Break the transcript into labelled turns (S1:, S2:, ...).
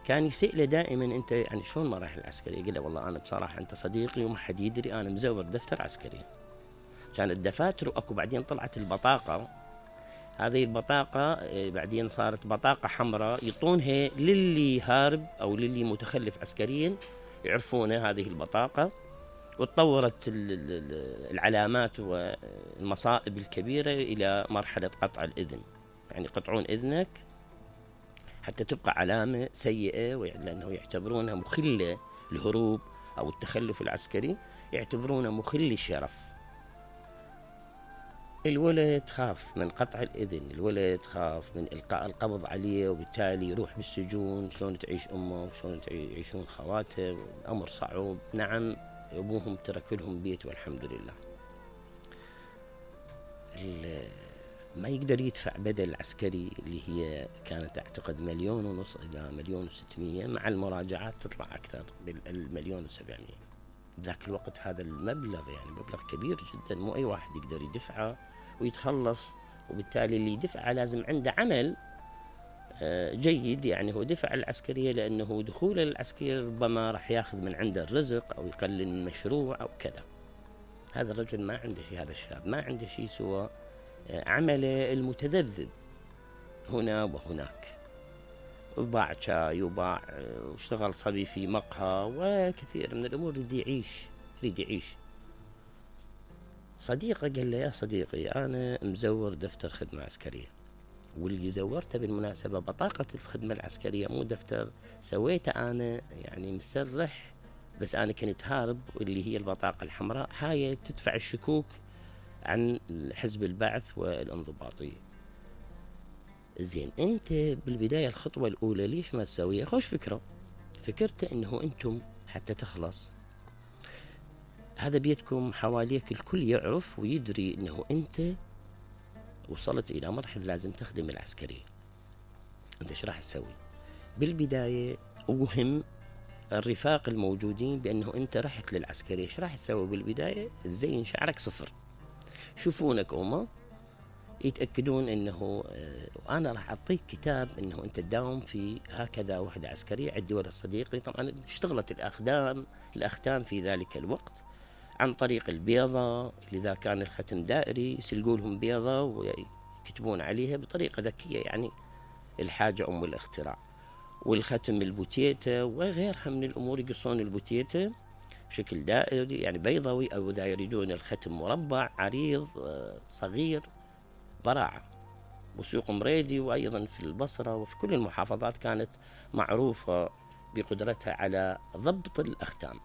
S1: كان يسأله دائما أنت يعني شلون مراحل العسكرية؟ يقول له والله أنا بصراحة أنت صديقي وما حد يدري أنا مزور دفتر عسكري. كانت الدفاتر وأكو بعدين طلعت البطاقة، هذه البطاقة بعدين صارت بطاقة حمراء يعطونها للي هارب أو للي متخلف عسكريا يعرفونه هذه البطاقة. وتطورت العلامات والمصائب الكبيرة إلى مرحلة قطع الإذن، يعني يقطعون إذنك حتى تبقى علامة سيئة، لأنه يعتبرونها مخلة الهروب أو التخلف العسكري، يعتبرونه مخل الشرف. الولد خاف من قطع الإذن، الولد خاف من إلقاء القبض عليه وبالتالي يروح بالسجون. شلون تعيش أمه وشلون يعيشون خواته؟ أمر صعب. نعم أبوهم ترك لهم بيت والحمد لله. ما يقدر يدفع بدل عسكري اللي هي كانت أعتقد 1.5 مليون إلى 1.6 مليون، مع المراجعات تطلع أكثر بال1.7 مليون. ذاك الوقت هذا المبلغ يعني مبلغ كبير جدا، مو أي واحد يقدر يدفعه ويتخلص. وبالتالي اللي يدفعه لازم عنده عمل جيد، يعني هو دفع العسكرية لأنه دخوله للعسكرية ربما راح ياخذ من عنده الرزق أو يقلل من مشروع أو كذا. هذا الرجل ما عنده شيء، هذا الشاب ما عنده شيء سوى عمله المتذبذب هنا وهناك. وباع شاي وباع واشتغل صبي في مقهى وكثير من الأمور. يريد يعيش. صديقه قال له يا صديقي أنا مزور دفتر خدمة عسكرية، واللي زورته بالمناسبة بطاقة الخدمة العسكرية مو دفتر سويته أنا، يعني مسرح، بس أنا كنت هارب، واللي هي البطاقة الحمراء هاي تدفع الشكوك عن حزب البعث والانضباطية. زين أنت بالبداية الخطوة الأولى ليش ما تسويها؟ خوش فكرة. فكرت إنه أنتم حتى تخلص هذا بيتكم حواليك الكل يعرف ويدري إنه أنت وصلت إلى مرحلة لازم تخدم العسكرية. أنت إيش راح تسوي؟ بالبداية وهم الرفاق الموجودين بأنه أنت رحت للعسكرية. إيش راح تسوي بالبداية؟ تزين شعرك صفر، شوفونك هما يتأكدون أنه أنا راح أعطيك كتاب أنه أنت تداوم في هكذا وحدة عسكرية. عندي ولد صديقي طبعا اشتغلت الأختام في ذلك الوقت عن طريق البيضة، لذا كان الختم دائري، يسلقوا لهم بيضة ويكتبون عليها بطريقة ذكية، يعني الحاجة أم الاختراع. والختم البوتيتا وغيرها من الأمور، يقصون البوتيتا بشكل دائري يعني بيضوي، أو إذا يريدون الختم مربع عريض صغير، براعة. وسوق مريدي وأيضا في البصرة وفي كل المحافظات كانت معروفة بقدرتها على ضبط الأختام.